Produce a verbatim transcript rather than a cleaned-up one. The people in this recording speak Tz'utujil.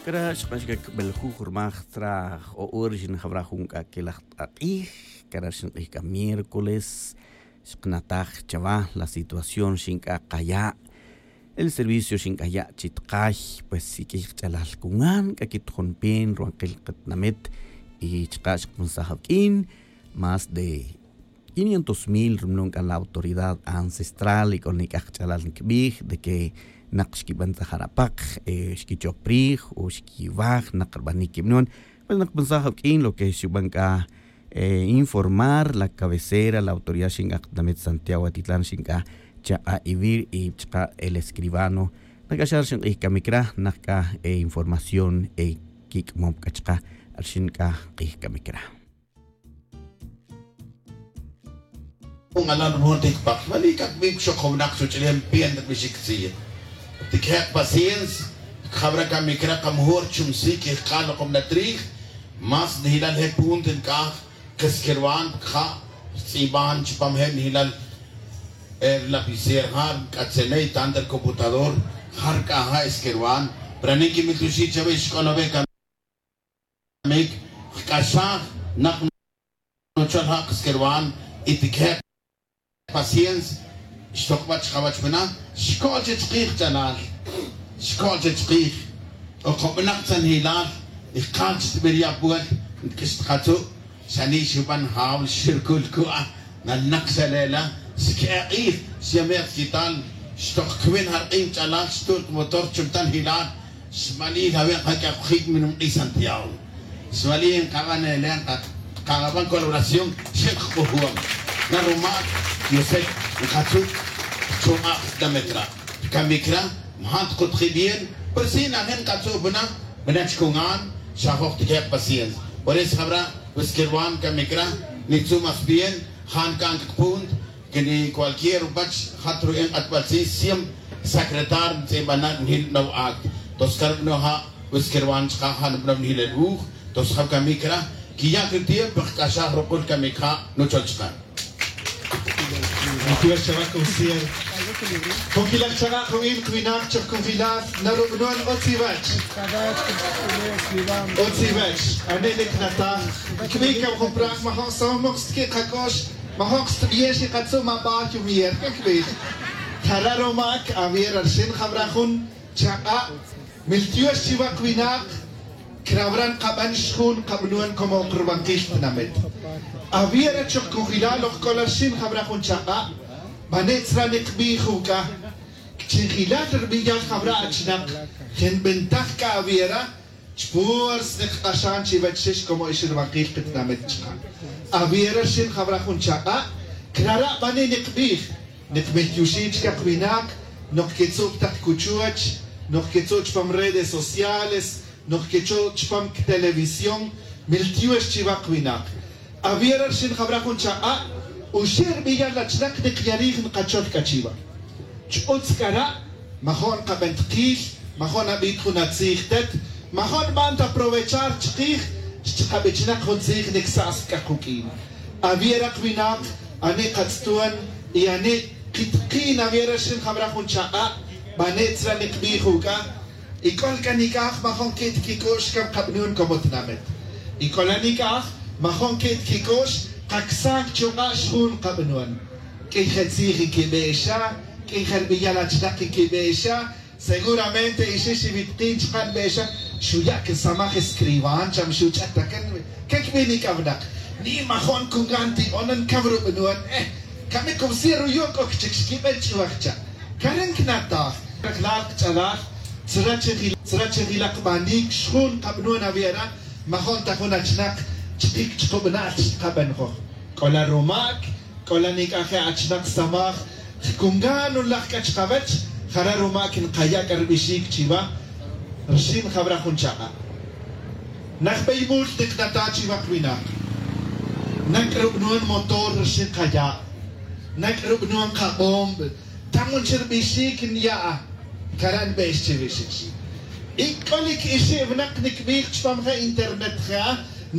Cara' xk'ax c'a cbeljuj rmaj tzra j-o' hora xin jawra jun c'a quelaj t'ak'ij. Cara' xin k'ij c'a miércoles xknataj chawa la situación xin c'a kaya'. El servicio xin c'a ya' chi tkay pues y k'ij kach'alal cungan c'a quitojon pen ruwankil katinamit. Y chaka' xkaponsaj awuq'uin más de quinientos mil rumanon c'a la autoridad ancestral y c'o nic'aj kach'alal ncabij de que nak xquibantzaj ar apak, xquichop rij o xquiwaj nak rbanic quib nuan. Pues nak pansaj awuq'uin lo que xuban c'a informar la cabecera la autoridad xin c'a katinamit santiago atitlan xin c'a chaka' ivir y chaka' el escribano. Nak c'a xa rixin k'ij camic ra nak c'a información quic'amom c'a chaka' rixin c'a k'ij camic ra. Jun alal rujun ti cpaj mali c'a cbin cuxoc jun winak chuch'ulem piente rbixic tzij. Tiquije' paciencia. Cjabra camic ra c'a mejor chumsic y jk'al lokobna trij. Más nijilal je' punto nc'aj kesquerwan cja' rtz'iban chupam je' nijilal lapicer ja' rc'atzene y tanto rcomputador ja' rc'aja' esquerwan. Pero anic quimil tuxi' chawe xc'ol awe camic. Jc'axaj nak nuchol ja' kesquerwan y tiquije' paciencia. Xtok wach jawach wena xco'l che chkij ch'alal. Xco'l che chkij. Okobenak tzanjilal y jkal chi tbirya' puerta. Ntq'uix tkatzu' xani' xuban jaw xircul cua' nalnak xale'la. Xque'e k'ij xyame' kquital. Xtok cwin jark'in ch'alal xtu't motor chumtanjilal. Xmali' jawe' kaq'ujic minum k'ij santiago. Xmali' nkaban ele' nkaban colaboración. Xek' k'ujom na rumac diosek nkatzu' chuk'a' jtamet ra. Rcamic ra maja' tkutji bien. Pero si najen nkatzu' bana bana chcungan. Xajoj tiquije' paciencia. Por eso jabra wesquerwan camic ra nitzu' mas bien. Ja' nca'an c'a punto que ni cualquier wach jat ru'in k'atbal tzij siempre secretario ntz'ibana' nijil banow acto. Tos car banow ja' wesquerwan chaka' ja' nbanow nijil el wuj. Tos ja' camic ra quiya' catiempo jc'axaj ruk'ul camic ja' nuchol chaka'. Ntiwech chawak usier. Cojilal chaka' jubin kwinak choj cojilal narubanow otz iwech. Otz iwech. Ane' nicnataj cbic cab jun praj majo' somok xtqui' kac'ox. Majoc xtbiyej xikatzu' ma baj yumier cacbij. Jara' rumac awier arxin jabra jun chak'a'. Miltiox chiwa kwinak. Crawra nkaban xjun nkabanon como ok rubankil tinamit. Awier achoc cojilal ok c'ola rxin jabra jun chak'a'. Mane' tzra nikbij uc'a. Chinjilal rbiyal jabra achinak. Je nbentaj c'a awiera. Chpur snik k'axan chiwech xix como ix rubankil kitinamit chka'. Awiera rxin jawra jun chak'a'. Crara' bani' nikbij. Nikmiltioxi' chka kwinak. Nok kitzu' tak kuchuwech. Nok kitzu' chpam redes sociales. Nok kitzu' chpam ktelevisión. Miltiox chiwa kwinak. Awiera rxin jawra jun chak'a'. Uxe' rbiyal achinak nikyarij nkachol c'a chiwa. Ch'utz c'ara'. Majo' nkaben tkil. Majo' nabij jun atzij tet. Majo' nban ta aprovechar chkij. Xchakabichnak jun tzij nicsas c'a kuq'uin. Awiera kwinak. Ani' katz'tuan. Y ani' kitk'in awiera rxin jawra jun chak'a'. Bane' tzra nikbij uc'a. Y c'ol c'a nic'aj majo' nquit quic'u'x cam kabanon como tinamit. Y c'ola nic'aj majo' nquit quic'u'x. Kacsan chuk'a' xjun kabanon. Q'uiy je tzij nquibe'exa. Q'uiy je rbiyal achinak nquibe'exa. Seguramente ixix iwitkin chka' nbe'exa. Xuya' quisamaj escriban cham xuch'at ta can. Can cbi nic'awnak. Ni majo' ncungan ti'onan cam rubanon. Eh. Camic cubsi' ruyo' c'o cchic xquiben ch'uwaj cha'. Caren cnataj. Clal kch'alal. Tzra chijilak banic xjun kabanon awiera. Majo' nta jun achinak. Chkic chkubnal chkaben joj. C'ola rumac. C'ola nic'aje' achinak samaj. Jcungan nulaj c'a chkawech. Jara' rumac nkaya' c'a rbixic chiwa. Rxin jawra jun chak'a'. Najbey mul niknata' chiwa kwinak. Nak' rubanon motor rxin kaya'. Nak' rubanon kabomb. Tamun chi rbixic nya'a. Cara' nbe'ex chiwixix. Y c'olic ixi' winak nicbij chpam je internet je'a.